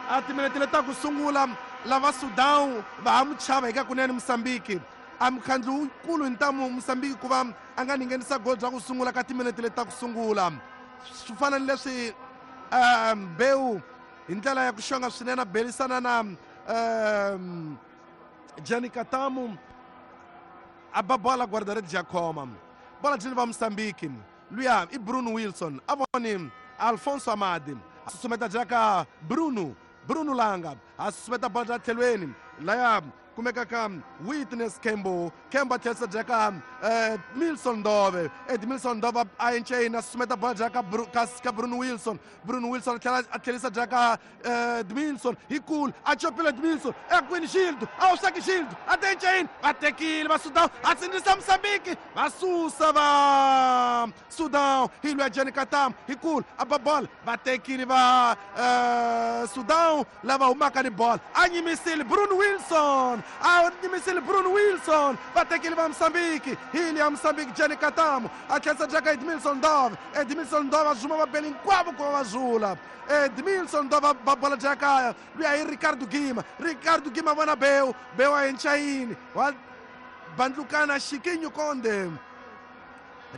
A timinete leti ta ku sungula lava Sudan va ha mu chava hi ka kunene Mozambique. A mukhandlu wukulu hi ntamu Mozambique ku va a nga ninghenisa gol bya ku sungula ka timinete leti ta ku sungula. Swi fana ni leswi Mbeu hi ndlela ya ku xonga swinene a belisana na Jenny Katamu a ba bola guarda-redes ya khoma. Bola byi va Mozambique. Luya i Bruno Wilson a voni Alfonso Amadi a susumeta jaka Bruno Bruno Langa a susumeta bola bya tlhelweni laya kumekaka Witness Kembo Kembo a tlherisa jaka Milson Ndove Edmilson Ndove a enceni a susumeta bola jaka ka Bruno Wilson Bruno Wilson a tlhela a tlherisa jaka Edmilson hi kulu a chopile Edmilson ekwini Gildo a hoxaki Gildo a te enceni va tekile va Sudan a sindzisa Mozambique va susa va Sudan hi lwa Jenny Katam hi kulu a ba bola va tekile va Sudan lava humaka ni bola a nyimisile Bruno Wilson a nyimisile Bruno Wilson va tekile va Mozambique hi liya Mozambique Jenny Katam a tlherisa jaka Edmilson Ndove Edmilson Ndove a zuma vabeli hinkwavo ku va va zula Edmilson Ndove ba bola jaka luya hi Ricardo Gima Ricardo Gima vona Beu Beu a enchayini wa bandlukana Chiquinho Conde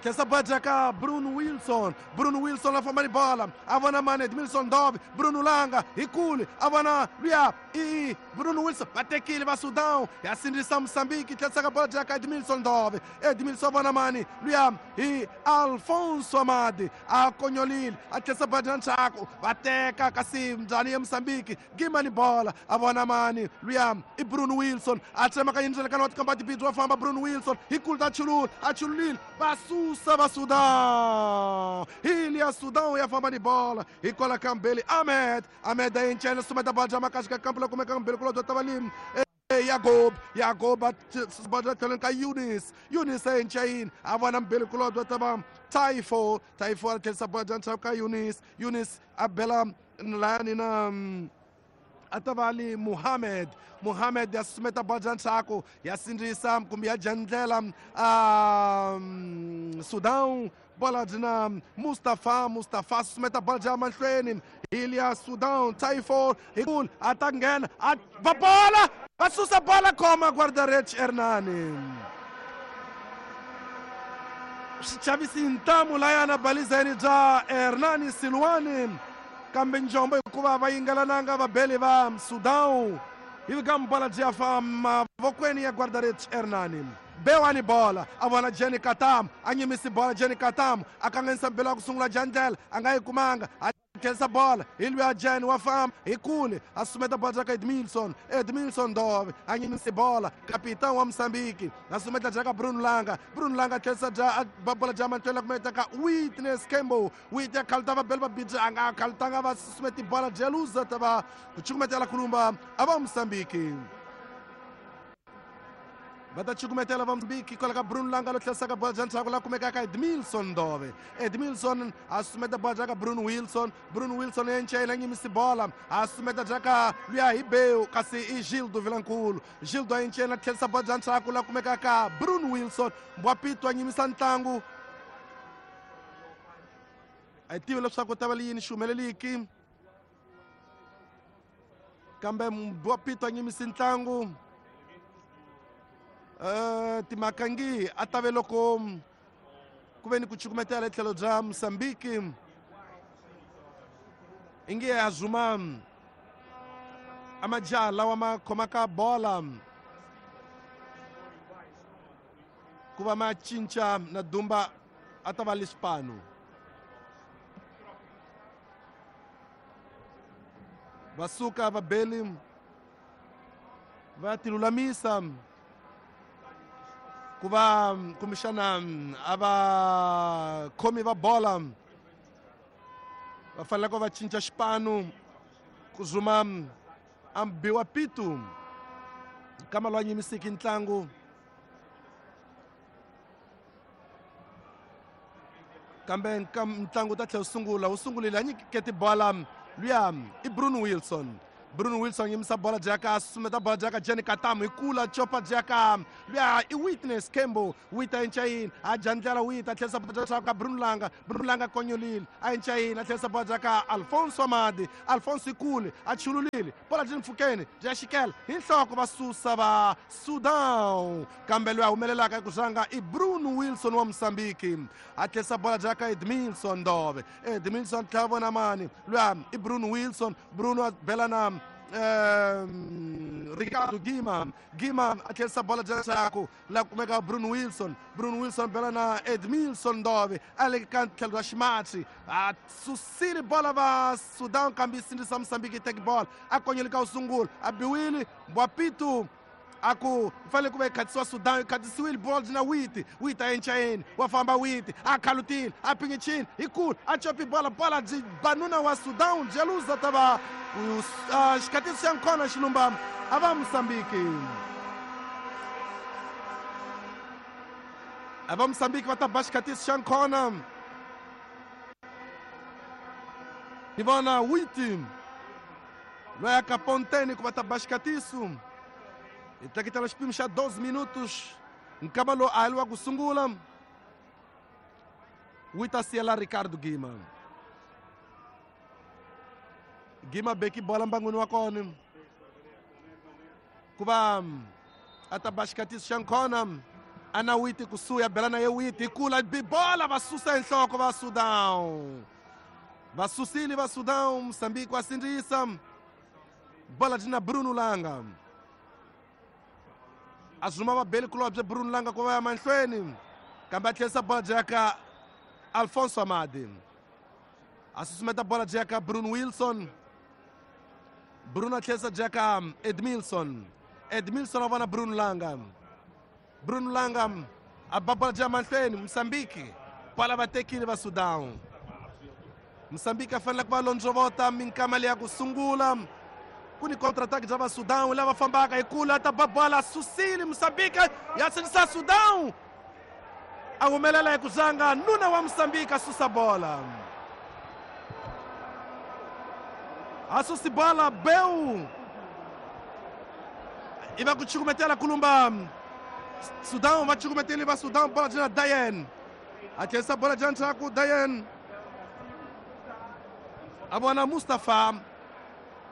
tlhesa bola jaka Bruno Wilson Bruno Wilson a famba ni bola a vona mani Edmilson Ndove Bruno Langa hi kule a vona luya i Bruno Wilson va tekile va Sudan ya sindzisa Mozambique tlherisaka bola jaka Edmilson Ndove Edmilson vona mani luya hi Alfonso Amadi a konyolile a tlherisa bola jaka ndzhaku va teka kasi mbyani ya Mozambique Gima ni bola a vona mani luya i Bruno Wilson a tsemaka yindzelekano wa tikamba tibidzi wa famba Bruno Wilson hi kulu ta chulula a chululile va susa va Sudan hi liya Sudan ya famba ni bola hikwalaho ka Mbeli Ahmed Ahmed a encene sumeta bola bya makaxi ka kampu la kumeka Mbeli kulobye ta valimi Yagob Yagob a bola tlhelweni ka Yunis Yunis a encayini a vona Mbeli kulobye ta va Taifo Taifo a tlherisa bola bya ndzhaku ka Yunis Yunis a bela layani na a ta va li Muhammad Muhammad ya susumeta bola bya ndzhaku ya sindzisa kumbe ya dya ndlela Sudan bola byi na Mustafa Mustafa susumeta bola bya mahlweni hi Sudan Taifo hi kulu a ta nghena a ba bola va susa bola khoma guarda-redes Hernani swi chavisi ntamu layana balizeni bya Hernani Silwani kambe njombo hikuva va yingelananga vabeli va Sudan ivi ka bola byi ya fa mavokweni ya guarda-redes Hernani Bewani bola a vona Jenny Katam a nyimisi bola Jenny Katam a kanganyisa mbelo ya ku sungula jandlela a nga yi kumanga a tlherisa bola hi luya Jen wa famba hi kule a sumeta bola jaka Edmilson Edmilson Ndove a nyimisi bola kapitan wa Mozambique a sumeta jaka Bruno Langa Bruno Langa a tlherisa ba bola ja mahlweni kumeta ka Witness Kembo Wit ya khalta va beli va bidzi a nga khaltanga va susumeti bola Jeluza ta va ku cukumetela kulumba a va Mozambique va ta cukumetela va Mozambique kwala ka Bruno Langa lo tlherisaka bola bya ndzhaku la kumekaka Edmilson Ndove Edmilson a susumeta bola bya ka Bruno Wilson Bruno Wilson ya encela nyimisi bola a susumeta bya ka luya hi Beu kasi i Gildo Vilankulu Gildo a encela tlherisa bola bya ndzhaku la kumekaka Bruno Wilson Mbwapito a nyimisa ntlangu a hi tivi leswaku ta va li yini xi humeleliki kambe Mbwapito a nyimisi ntlangu timhaka ngi a ta ve loko ku ve ni ku cukumetela hi tlhelo bya Mozambique inge a zuma a majaha lawa ma khomaka bola ku va ma cinca na Dumba a ta va lixipano va suka vabeli va tilulamisa ku va kumbexana a va khomi va bola va fanele ku va cinca xipano ku zuma a biwa pitu kama loyi a nyimisiki ntlangu kambe ntlangu ta tlhela wu sungula wu sungulile a nyikete bola luya i Bruno Wilson Bruno Wilson yimisa bola jaka susumeta bola jaka Jenny Katamu ikula chopa jaka luya i Witness Kembo wita enchayini a jandlela wita tlherisa bola jaka Bruno Langa. Bruno Langa konyolile a enchayini a tlherisa bola jaka Alfonso Amadi. Alfonso ikule a chululile bola jini mfukeni bya xikela hi nhloko va susa va Sudan kambe loyi a humelelaka eku zanga i Bruno Wilson wa Mozambique a tlherisa bola jaka Edmilson Ndove. Edmilson tlhela vona mani luya i Bruno Wilson. Bruno a bela na Ricardo Gima. Gima a tlherisa bola jaka la kumeka Bruno Wilson. Bruno Wilson bela na Edmilson Ndove a le ka tlhelo ra ximatsi a susile bola va Sudan kambe yi sindzisa Mozambique take ball a konyele ka u sungula a biwile Mbwapitu aku fanele ku va yi khatisiwa Sudan yi khatisiwile ball na Witi. Witi a enchayeni wa famba Witi a khalutile a pingichini ikulu a chopi bola bola byi banuna wa Sudan jeluza ta va xikhatiso xa nkhona xilumba a va Mozambique. A va Mozambique va ta ba xikhatiso xa nkhona ni vona Witi loyi a ka ponteni ku va ta ba xikhatiso hi tleketela xipimo xa 12 minutos nkama lowu a heliwa ku sungula Wita siyela Ricardo Gima. Gima beki bola mbangwini wa kona ku va a ta ba xikhatiso xa nkhona ana Witi kusuhi a bela na ye Witi kula bibola va susa hi nhloko va Sudan va susile va Sudan Mozambique wa sindzisa bola dyi na Bruno Langa a zuma va beli kulobye Bruno Langa ku va ya mahlweni kambe a tlherisa bola jaka Alfonso Amadi a susumeta bola jaka Bruno Wilson. Bruno a tlherisa jaka Edmilson. Edmilson a vona Bruno Langa. Bruno Langa a ba bola ja mahlweni Mozambique bola va tekile va Sudan. Mozambique a fanele ku va londzovota minkama leya ku sungula ku ni contre-attaque bya va Sudan lava fambaka hi kula ta ba bola susile Mozambique ya sindzisa Sudan a humelela hi ku zanga nuna wa Mozambique a susa bola a susi bola beu i va ku chukumetela kulumba Sudan va chukumeteli va Sudan bola jina Dayen a tlherisa bola jina ndzhaku Dayen a vona Mustafa.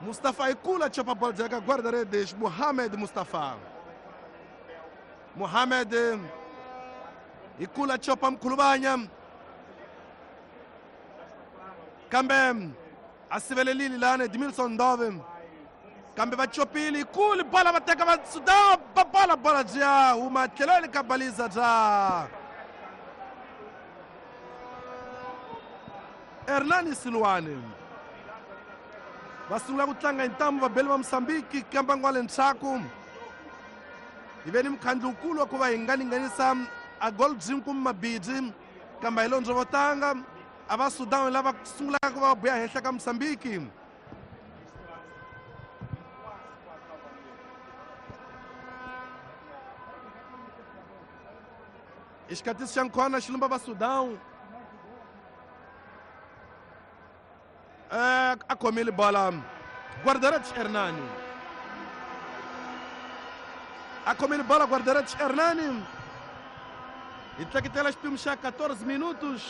Mustafa ikula chopa bola jaka guarda-redes Mohamed Mustafa. Mohamed ikula chopa mkhulubanya kambe a sivelelile lana Edmilson Ndove kambe va chopile ikulu bola va teka va Sudan ba bola bola bya huma tlhelweni ka baliza bya Hernani Silwane. Va sungula ku tlanga hi ntambu vabeli va Mozambique kamba ngwale ndzhaku hi ve ni mukhandlu wukulu wa ku va hi nga linganisa a gold gym kumbe mabidi kambe hi londzo vo tanga a va Sudan lava sungulaka ku va buya henhla ka Mozambique. I xikatiso xa nkhona xilumba va Sudan a khomile bola guarda-redes Hernani a khomile bola guarda-redes Hernani hi tleketela xipimo xa 14 minutos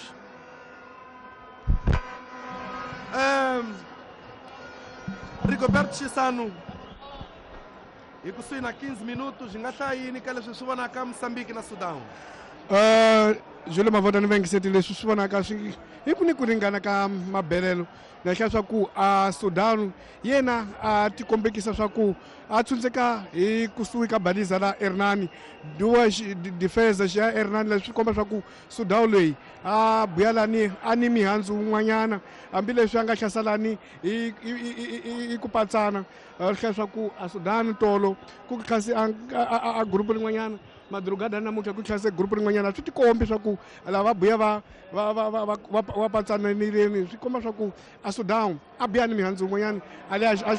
Rigoberto Chisano hi kusuhi na 15 minutos hi nga hlaya yini ka leswi swi vonaka Mozambique na Sudan? Jule Mavota ni vengiseti leswi swi vonaka swi hi ku ni ku ringana ka mabelelo na hlaya swa ku a Sudan yena a tikombekisa swa ku a tshundzeka hi kusuhi ka baliza la Hernani duwa defense xa Hernani leswi komba swa ku Sudan leyi a buyalani a ni mihandzu wun'wanyana hambileswi a nga hlasalani hi ku patsana hlaya swa ku a Sudan tolo ku tlhasi a group rin'wanyana madrugada namuntlha ku tlhase group rin'wanyana swi tikombi swa ku lava buya va va va va va va patsananileni swi komba swa ku a Sudan a buya ni mihandzu wun'wanyana a le a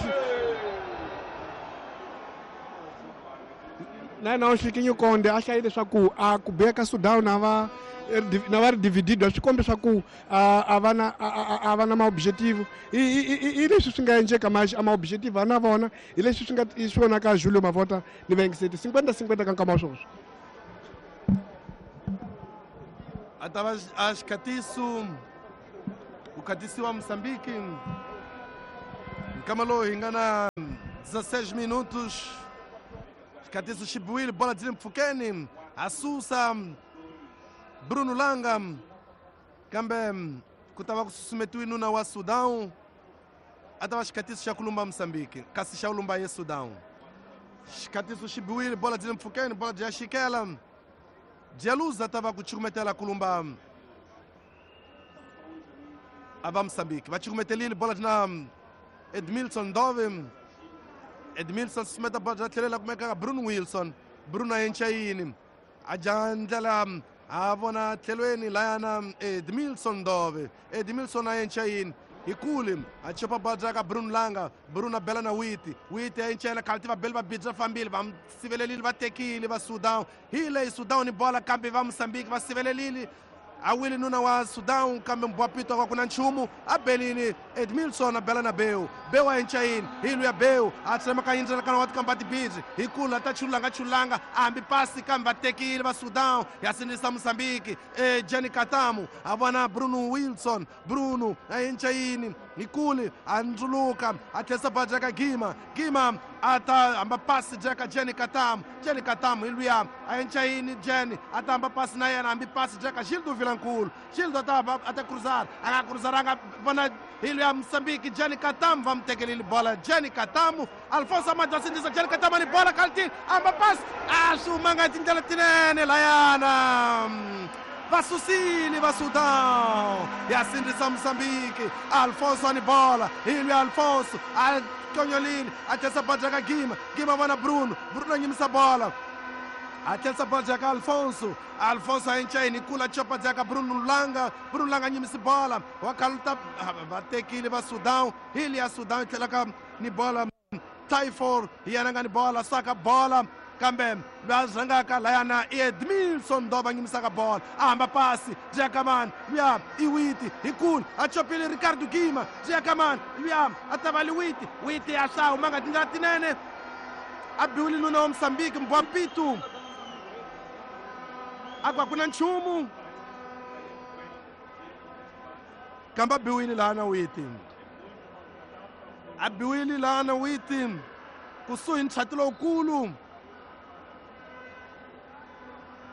na yena Xikinyi Konde a hlayile leswaku a ku biya ka Sudan a va na va ri dividido swi komba swa ku a va na a va na ma-objective i leswi swi nga endleka a ma-objective a na vona hi leswi swi nga swi vonaka Julio Mavota ni vayengiseti 50-50 ka nkama wa swoswo. A ta va a xikhatiso ku khatisiwa Moçambique nkama lowu hi nga na 16 minutos. Xikhatiso xi biwile, bola byi le mpfhukeni, a susa Bruno Langa, kambe ku ta va ku susumetiwe nuna wa Sudan. A ta va xikhatiso xa ku lumba Moçambique, kasi xa ku lumba ye Sudan. Xikhatiso xi biwile, bola byi le mpfhukeni, bola byi ya xikela Dialuza ta va ku chukumetela ku lumba a va Moçambique. Va chukumetelile, bola na Edmilson Dove. Edmilson susumeta bola bya tlhelela kumeka Bruno Wilson. Bruno a enca yini a dya ndlela a vona tlhelweni layana Edmilson Dove. Edmilson a enca yini hi kule a chopa bola bya ka Bruno Langa. Bruno a bela na Witi. Witi a encela khalti va beli va bidza fambile, va sivelelile, va tekile va Sudan. Hi leyi Sudan ni bola, kambe va Moçambique va sivelelile. A wile nuna wa Sudan, kambe mbwapito wa ku na nchumu. A belile Edmilson, a bela na Beu. Beu a enca yini hi luya Beu a tsemaka yindlela kana wa tikamba tibidzi hi kula ta chulanga chulanga a hambi pasi, kambe va tekile va Sudan. Ya sindzisa Moçambique. E Jenny Katamu a vona Bruno Wilson. Bruno a enca yini hi kule a ndzuluka a tlherisa bola jaka Gima. Gima a ta hamba pasi jaka Jenny Katamu. Jenny Katamu hi luya a enca yini Jenny a ta hamba pasi na yena, hambi pasi jaka Gildo Vilankulu. Gildo a ta a ta cruzar, a nga cruzaranga, vona hi luya Moçambique Jenny Katamu va mu tekelile bola. Jenny Katamu, Alfonso Amadi va sindzisa Jenny Katamu ni bola kaltini, hamba pasi a swi humanga hi tindlela tinene layana. Va susile va Sudan, ya sindzisa Moçambique. Alfonso ni bola, hi luya Alfonso a tonyolile a tlherisa bola jaka Gima. Gima vona Bruno. Bruno a nyimisa bola a tlherisa bola jaka Alfonso. Alfonso a enca yini kula chopa jaka Bruno Langa. Bruno Langa nyimisi bola wa khaluta, va tekile va Sudan. Hi liya Sudan yi tlhelaka ni bola. Tyfor hi yena nga ni bola, saka bola, kambe loyi a rhangaka layana i Edmilson Dova nyimisaka bola, a hamba pasi Jakaman luya i Witi hi kulu a chopile Ricardo Gima. Jakaman luya a ta va li Witi. Witi a swa humanga tindlela tinene, a biwile nuna wa Moçambique Mbwapitu, a ku a ku na nchumu, kambe a biwile lahana Witi, a biwile lahana Witi kusuhi ni nchati lowukulu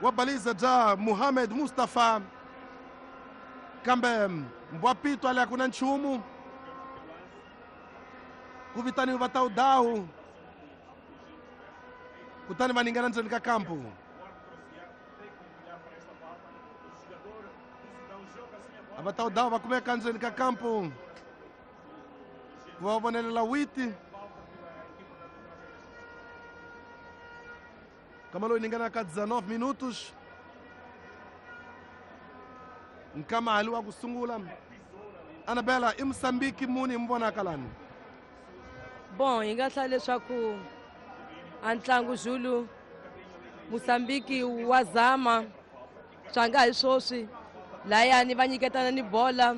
wa baliza bya Muhammad Mustafa, kambe Mbwapito a le ku na nchumu. Ku vitaniwe va Tawudawu, kutani va ningana ndzeni ka kampu. A va Tawudawu va kumeka ndzeni ka kampu ku va vonelela Witi. Kama loyi ningana ka 19 minutos nkama hali wa ku sungula. Anabela, i Moçambique muni hi mi vonaka lani? Bon, hi nga hlaya leswaku a ntlangu Zulu, Moçambique wa zama swa nga hi swoswi layani va nyiketana ni bola,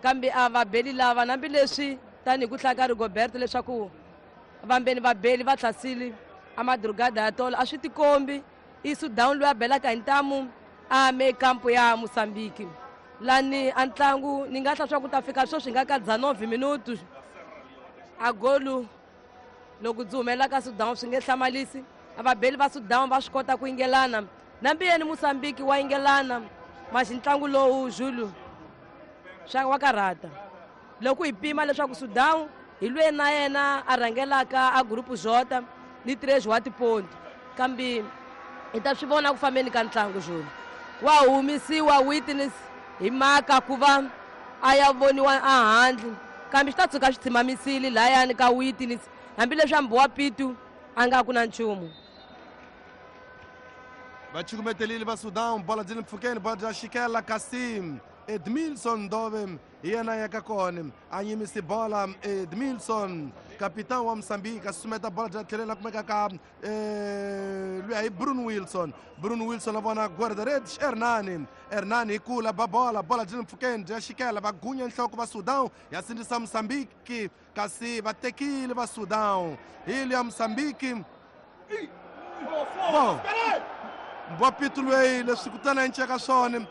kambe a va beli lava hambileswi tanihi ku hlaya ka Rigoberto leswaku vambeni va beli va hlasile a madrugada ya tolo a swi tikombi i Sudan loyi a belaka hi ntamu a me kampo ya Moçambique lani a ntlangu. Ni nga hla swa ku ta fika sweswi nga ka 19 minutos a golu loko byi humelela ka Sudan swi nge hlamalisi. A vabeli va Sudan va swi kota ku yingelana nambi yeni Moçambique wa yingelana maxi ntlangu lowu Zulu swa wa karhata loko hi pima leswaku Sudan hi lwe na yena a rhangelaka a gurupu Jota ni 3 wa tiponto, kambe hi ta swi vona ku fambeni ka ntlangu. Zulu wa humisiwa witness hi mhaka ku va a ya voniwa ehandle, kambe swi ta tshuka swi tshimamisile layani ka witness hambileswi hambi wa pitu a nga ku na nchumu. Va chukumetelile va Sudan, bola byi le mpfhukeni, bola bya xikela kasi Edmilson Dove. Hi yena ya ka kona a nyimisi bola Edmilson capitão wa Mozambique a susumeta bola bya tlhelela kumeka ka luya hi Bruno Wilson. Bruno Wilson a vona guarda-redes Hernani. Hernani hi kula ba bola, bola byi le mpfhukeni bya xikela va gunya nhloko va Sudan ya sindzisa Mozambique kasi va tekile va Sudan hi luya Mozambique. Bon mbwapitu lweyi leswi kutana enceka swona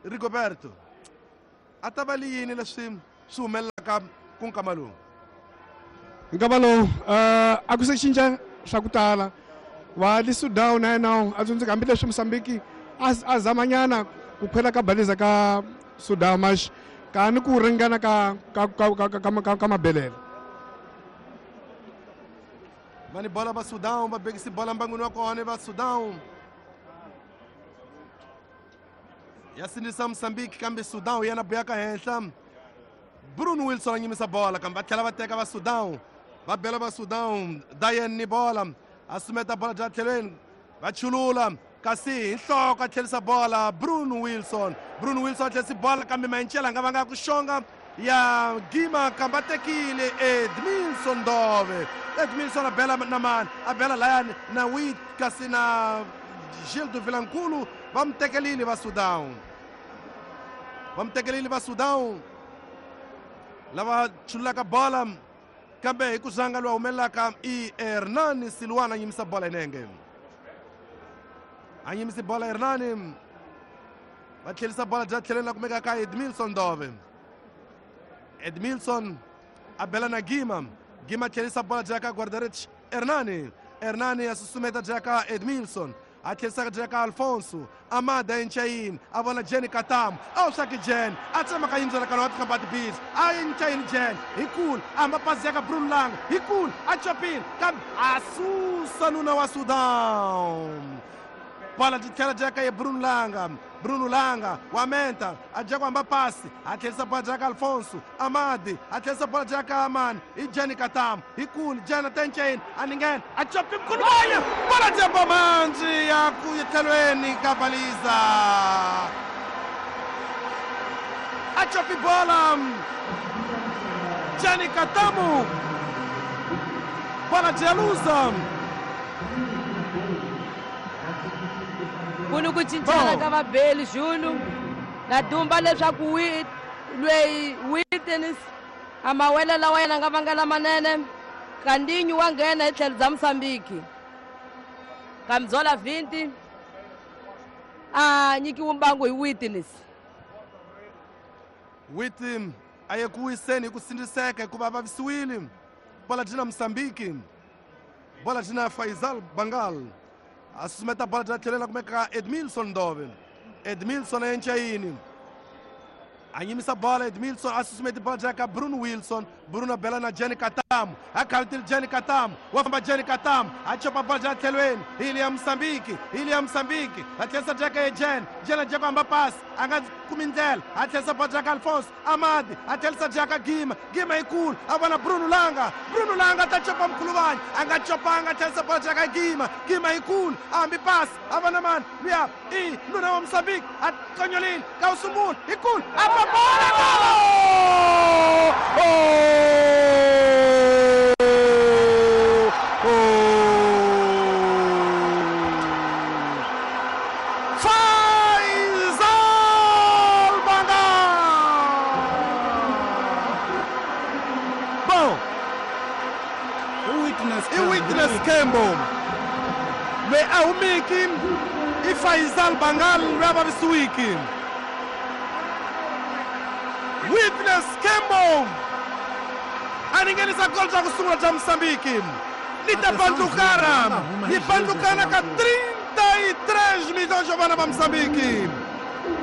Rigoberto a ta va li yini leswi swi humelelaka ku nkama lowu? Nkama lowu a ku se cinca swa ku tala wa le Sudan na yena a tsundzuka hambileswi Mozambique a zamanyana ku khwela ka baliza ka Sudan max ka ni ku ringana ka ka ka ka ka ka mabelelo. Va ni bola va Sudan va bekisi bola mbangwini wa kona va Sudan ya sindzisa Mozambique kambe Sudan yena buya ka henhla. Bruno Wilson a nyimisa bola kambe va tlhela va teka va Sudan va bela va Sudan Dayen ni bola a sumeta bola bya tlhelweni va chulula kasi hi nhloko a tlherisa bola Bruno Wilson. Bruno Wilson a tlherisi bola kambe Mancela a nga vanga ku xonga ya Gima kambe a tekile Edmilson Dove. Edmilson a bela na mani a bela layani na Wit kasi na Gildo Vilankulu va mi tekelile va Sudan. Va mi tekelile va Sudan lava chululaka bola kambe hi ku zanga lowu humelelaka i Hernani Silwana a nyimisa bola hi nenge. A nyimisi bola Hernani va tlherisa bola bya tlheleni la kumeka ka Edmilson Dove. Edmilson a bela na Gima. Gima tlherisa bola bya ka guarda-redes Hernani. Hernani a susumeta bya ka Edmilson a tlherisaka bya ka Alfonso Amada enchayini a vona Jenny Katamu a wu swaki Jen a tsemaka yindlu la kana wa tikhamba tibisi a enchayini Jen hi kula a hamba pasi ya ka Bruno Langa hi kula a chopile kambe a susa nuna wa Sudan. Bola byi tlhela bya ka ye Bruno Langa. Bruno Langa wa menta a dya ku hamba pasi a tlherisa bola bya ka Alfonso Amadi a tlherisa bola bya ka Amani hi Jenny Katamu hi kula Jen a tenchayini a ninghena a chopi mkhuluvanya bola dya bomanji ya ku tlhelweni ka baliza a chopi bola Jenny Katamu bola dya luza. Ku ni ku cincana ka vabeli Zulu na dumba leswaku lweyi Witness a mawele lawa yena nga vanga lamanene Kandinyu wa nghena hi tlhelo bya Mozambique Kamzola 20 a nyikiwe mbangu hi Witness. Wit a ye ku wiseni hi ku sindziseka hikuva a vavisiwile. Bola dyi na Mozambique, bola dyi na Faisal Bangal a susumeta bola bya tlhelela kumeka Edmilson Dove. Edmilson a enchayini a nyimisa bola Edmilson a susumeti bola bya ka Bruno Wilson. Bruno bela na Jenny Katamu a khalutile Jenny Katamu wa famba Jenny Katamu a chopa bola bya tlhelweni hi le ya Mozambique hi le ya Mozambique a tlherisa bya ka ye Jen. Jen a dya ku hamba pasi a nga kumi ndlela a tlherisa bola bya ka Alfonso Amadi a tlherisa bya ka Gima. Gima yi kulu a vona Bruno Langa. Bruno Langa ta chopa mkhuluvanya a nga chopanga a tlherisa bola bya ka Gima. Gima yi kulu a hambi pasi a vona mani luya i nuna wa Mozambique a konyolile ka wu sungula hi kulu a ba bola golo. Faisal Bangal. Bom, i Witness Kembo loyi a humiki i Faisal Bangal loyi a vavisiwiki. Witness Kembo a ringhenisa gol bya ku sungula bya Mozambique ni ta bandlukana yi bandlukana ka 33 milhões de vana va Mozambique.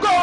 Gol!